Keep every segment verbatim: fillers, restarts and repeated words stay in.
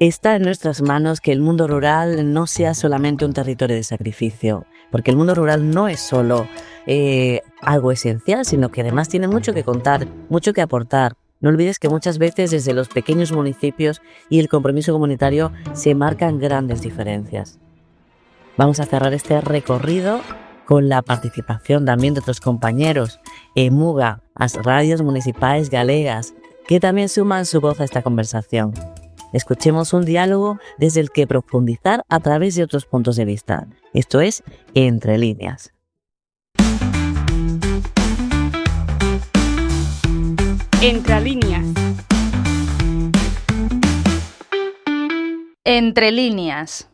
Está en nuestras manos que el mundo rural no sea solamente un territorio de sacrificio, porque el mundo rural no es solo eh, algo esencial, sino que además tiene mucho que contar, mucho que aportar. No olvides que muchas veces desde los pequeños municipios y el compromiso comunitario se marcan grandes diferencias. Vamos a cerrar este recorrido con la participación también de otros compañeros, EMUGA, as radios municipais galegas, que también suman su voz a esta conversación. Escuchemos un diálogo desde el que profundizar a través de otros puntos de vista. Esto es Entre Líneas. Entre Líneas. Entre Líneas.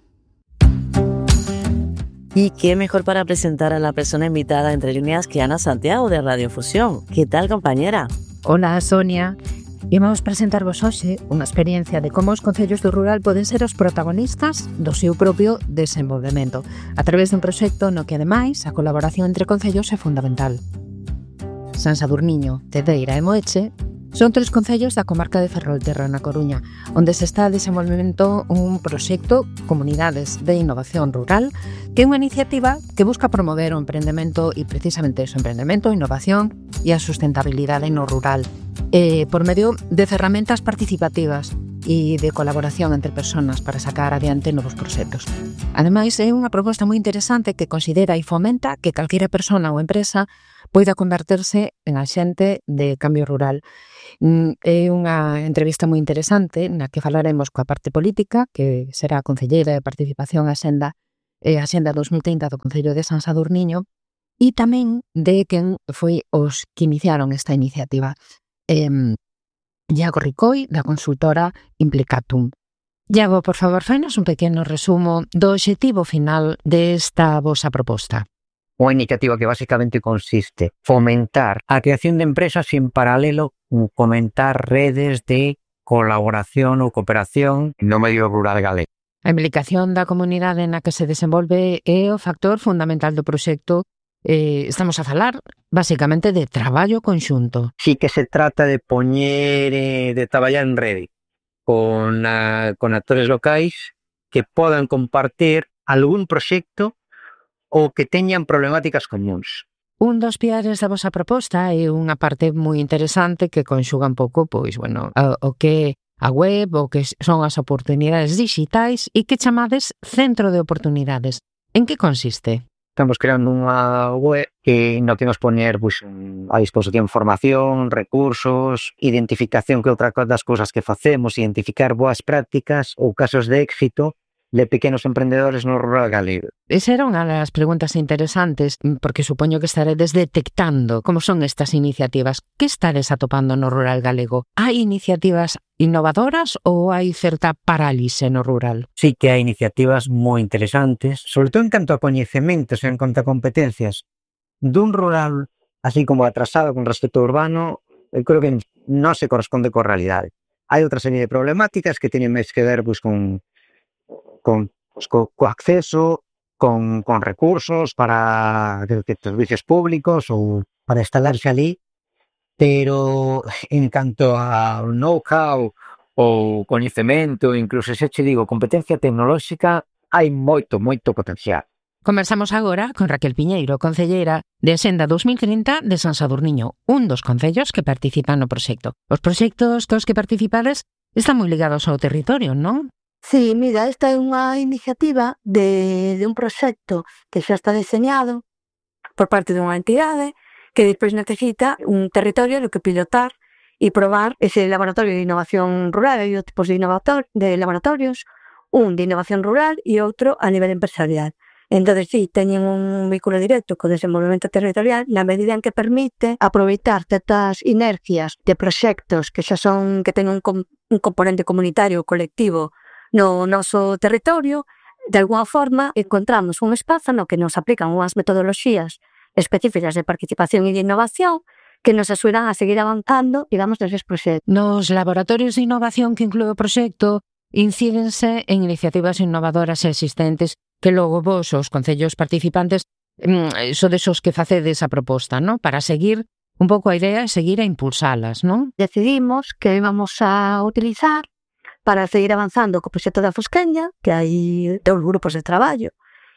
Y qué mejor para presentar a la persona invitada Entre Líneas que Ana Santiago de Radio Fusión. ¿Qué tal, compañera? Hola, Sonia. Imos presentarvos hoxe unha experiencia de como os concellos do rural poden ser os protagonistas do seu propio desenvolvemento a través dun proxecto no que, ademais, a colaboración entre concellos é fundamental. San Sadurniño, Cedeira e Moeche son tres concellos da comarca de Ferrolterra, na Coruña, onde se está desenvolvendo un proxecto Comunidades de Innovación Rural, que é unha iniciativa que busca promover o emprendemento e precisamente o emprendemento, a innovación e a sustentabilidade no rural, eh, por medio de ferramentas participativas e de colaboración entre persoas para sacar adiante novos proxectos. Ademais, é unha proposta moi interesante que considera e fomenta que calquera persona ou empresa poida converterse en axente de cambio rural. É unha entrevista moi interesante na que falaremos coa parte política, que será a concelleira de Participación e Axenda, e a Axenda dos mil trinta do Concello de San Sadurniño, e tamén de quen foi os que iniciaron esta iniciativa. Eh, Iago Ricoi, da consultora Implicatum. Iago, por favor, fainos un pequeno resumo do obxectivo final desta vosa proposta. Unha iniciativa que basicamente consiste fomentar a creación de empresas e en paralelo fomentar redes de colaboración ou cooperación no medio rural galego. A implicación da comunidade na que se desenvolve é o factor fundamental do proxecto. Eh, estamos a falar, basicamente, de traballo conxunto. Sí que se trata de poñer, eh, de traballar en rede con, a, con actores locais que podan compartir algún proxecto ou que teñan problemáticas comuns. Un dos piares da vosa proposta é unha parte moi interesante que conxuga un pouco, pois, bueno, o, o que a web, o que son as oportunidades digitais e que chamades centro de oportunidades. En que consiste? Estamos creando unha web que no que nos poñer pues, a disposición formación, recursos, identificación que outra das cousas que facemos, identificar boas prácticas ou casos de éxito de pequenos emprendedores no rural galego. Esa era unha das preguntas interesantes, porque supoño que estaredes detectando como son estas iniciativas. Que estares atopando no rural galego? Hai iniciativas innovadoras ou hai certa parálise no rural? Sí que hai iniciativas moi interesantes, sobre todo en canto a coñecementos e en canto a competencias dun rural así como atrasado con respecto ao urbano, eu creo que non se corresponde coa realidade. Hai outra serie de problemáticas que teñen máis que ver pues, con con, pues, co, co acceso, con, con recursos para de, de servicios públicos ou para instalarse ali, pero en canto a know-how ou coñecemento, incluso se che digo competencia tecnolóxica, hai moito, moito potencial. Conversamos agora con Raquel Piñeiro, concelleira de Axenda dos mil trinta de San Sadurniño, un dos concellos que participan no proxecto. Os proxectos cos que participades están moi ligados ao territorio, non? Sí, mira, esta é unha iniciativa de, de un proxecto que xa está diseñado por parte dunha entidade que despois necesita un territorio no que pilotar e probar ese laboratorio de innovación rural. Hai dos tipos de, de laboratorios, un de innovación rural e outro a nivel empresarial. Entón, sí, teñen un vínculo directo co desenvolvemento territorial na medida en que permite aproveitar certas inercias de proxectos que xa son, que teñen un, com, un componente comunitario colectivo no noso territorio. De alguna forma encontramos un espazo no que nos aplican unhas metodoloxías específicas de participación e de innovación que nos axudan a seguir avanzando, digamos, neses proxectos. Nos laboratorios de innovación que inclúe o proxecto incídense en iniciativas innovadoras existentes que logo vos, os concellos participantes, sodes os que facedes a proposta, non? Para seguir un pouco a idea e seguir a impulsalas, non? Decidimos que íbamos a utilizar para seguir avanzando co proxecto da Fosqueña, que hai dous grupos de traballo,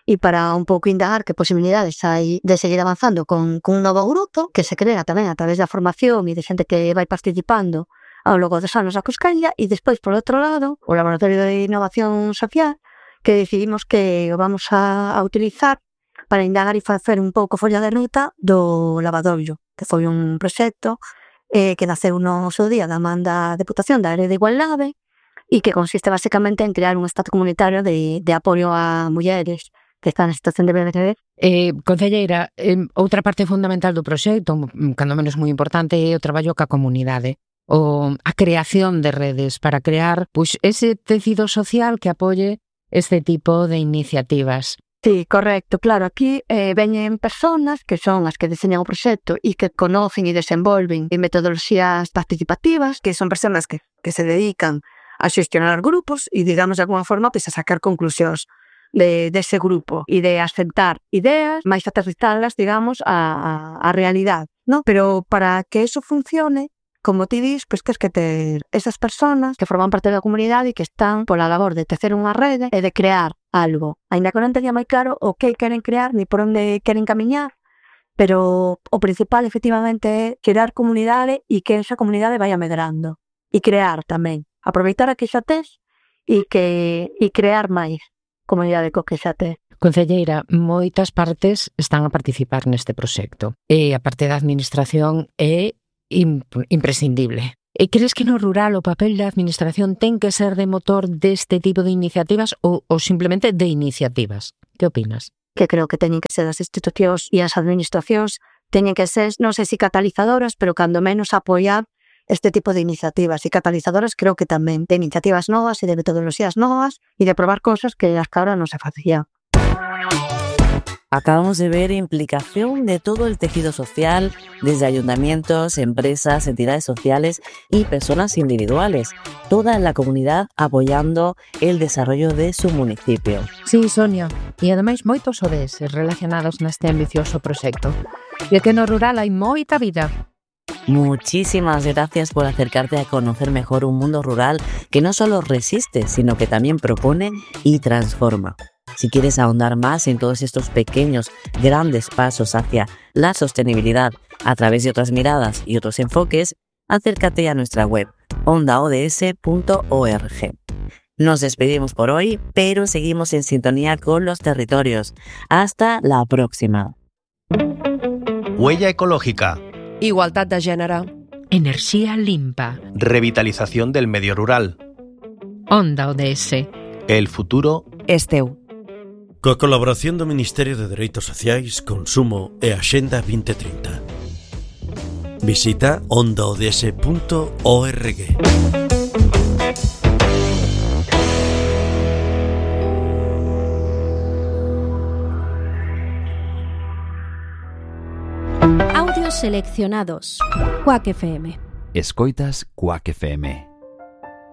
e para un pouco indagar que posibilidades hai de seguir avanzando con, con un novo grupo que se crea tamén a través da formación e de xente que vai participando ao longo dos anos da Fosqueña, e despois, por outro lado, o Laboratorio de Innovación Social, que decidimos que o vamos a, a utilizar para indagar e facer un pouco folla de ruta do lavadoiro, que foi un proxecto eh, que naceu no seu día da man da Deputación da Área de Igualdade e que consiste basicamente en crear un espazo comunitario de, de apoio a mulleres que están en situación de V I H. Eh, concelleira, eh, outra parte fundamental do proxecto, cando menos moi importante, é o traballo ca comunidade, o a creación de redes para crear pois, ese tecido social que apoie este tipo de iniciativas. Sí, correcto, claro, aquí eh, veñen personas que son as que diseñan o proxecto e que conocen e desenvolven en metodoloxías participativas, que son personas que, que se dedican a xestionar grupos e, digamos, de alguna forma, pues, a sacar conclusións de, de ese grupo e de asentar ideas, máis aterrizadas, digamos, a, a, a realidade, ¿no? Pero para que eso funcione, como ti dis, pois pues, que es que ter esas personas que forman parte da comunidade e que están pola labor de tecer unha rede e de crear algo. Ainda que non teña moi claro o que queren crear ni por onde queren camiñar, pero o principal, efectivamente, é crear comunidade e que esa comunidade vaya medrando. E crear tamén. Aproveitar a que xa tes e, que, e crear máis comunidade co que xa tes. Concelleira, moitas partes están a participar neste proxecto. E a parte da administración é imprescindible. E crees que no rural o papel da administración ten que ser de motor deste tipo de iniciativas ou, ou simplemente de iniciativas? Que opinas? Que creo que teñen que ser as institucións e as administracións, teñen que ser, non sei se catalizadoras, pero cando menos apoiar este tipo de iniciativas. E catalizadoras creo que tamén de iniciativas novas e de metodoloxías novas e de probar cosas que hasta ahora non se facían. Acabamos de ver implicación de todo el tejido social, desde ayuntamientos, empresas, entidades sociales y personas individuales. Toda la comunidad apoyando el desarrollo de su municipio. Sí, Sonia. E ademais moitos O D S relacionados neste ambicioso proxecto. E que no rural hai moita vida. Muchísimas gracias por acercarte a conocer mejor un mundo rural que no solo resiste, sino que también propone y transforma. Si quieres ahondar más en todos estos pequeños, grandes pasos hacia la sostenibilidad a través de otras miradas y otros enfoques, acércate a nuestra web onda o d s punto org. Nos despedimos por hoy, pero seguimos en sintonía con los territorios. Hasta la próxima. Huella ecológica. Igualdad de gènere. Enerxía limpa. Revitalización del medio rural. Onda O D S. El futuro Esteu. Coa colaboración do Ministerio de Dereitos Sociais, Consumo e Axenda vinte trinta. Visita onda o d s punto org. Audios seleccionados. Quack F M. Escoitas Quack F M.